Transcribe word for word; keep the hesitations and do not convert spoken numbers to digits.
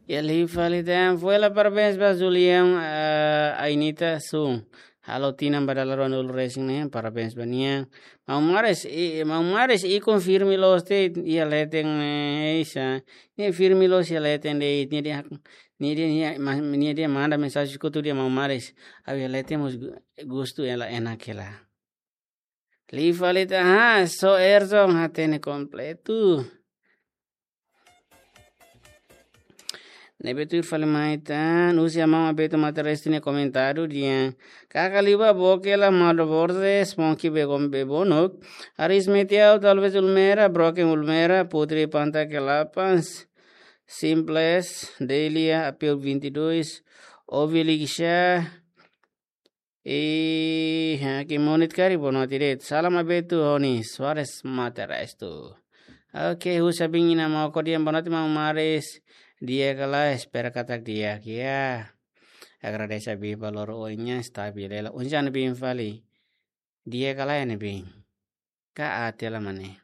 Iha liu fali tan, foin hela parabéns ba Julian, eh, Ainita Sun. Halo tinan ba dala ruanulu resin ne'e, parabéns ba nia. Maun Maris, i, Maun Maris, i konfirma loos de'it iha leten, eh, isa. Nia firme loos iha leten de'it, nia dehan, nia dehan, nia, ma-, nia dehan manda mensajen kotuk dehan Maun Maris. Ha'u iha leten mós gu-, gostu hela, enak hela. Liu fali tan, ah, só Erson hatene kompletu. Ne'ebé tuir fali mai tan, husi Maun Abeto Mata Restu nia komentáriu dehan, kaka liu ba boke la Mauro Borges, Monkey Begom Bebonok, Aris Metiau, Talvez Ulmera, Broken Ulmera, Putri Panta Kelapas, Simples, Delia, Apil vinte e dois, Ovi Ligisha, i, ha, ke monit kari boa noite de'it. Salam Abeto, Roni Soares Mata Restu. Oke, husi Abin Ina Moko dehan boa noite Maun Maris. Di'ak ka lae, espera katak di'ak, ya. Agradese Abin ba loro oin nian, stabil hela. Oinsá ne'ebé fali? Di'ak ka lae ne'ebé? Ka aat hela mak ne'e?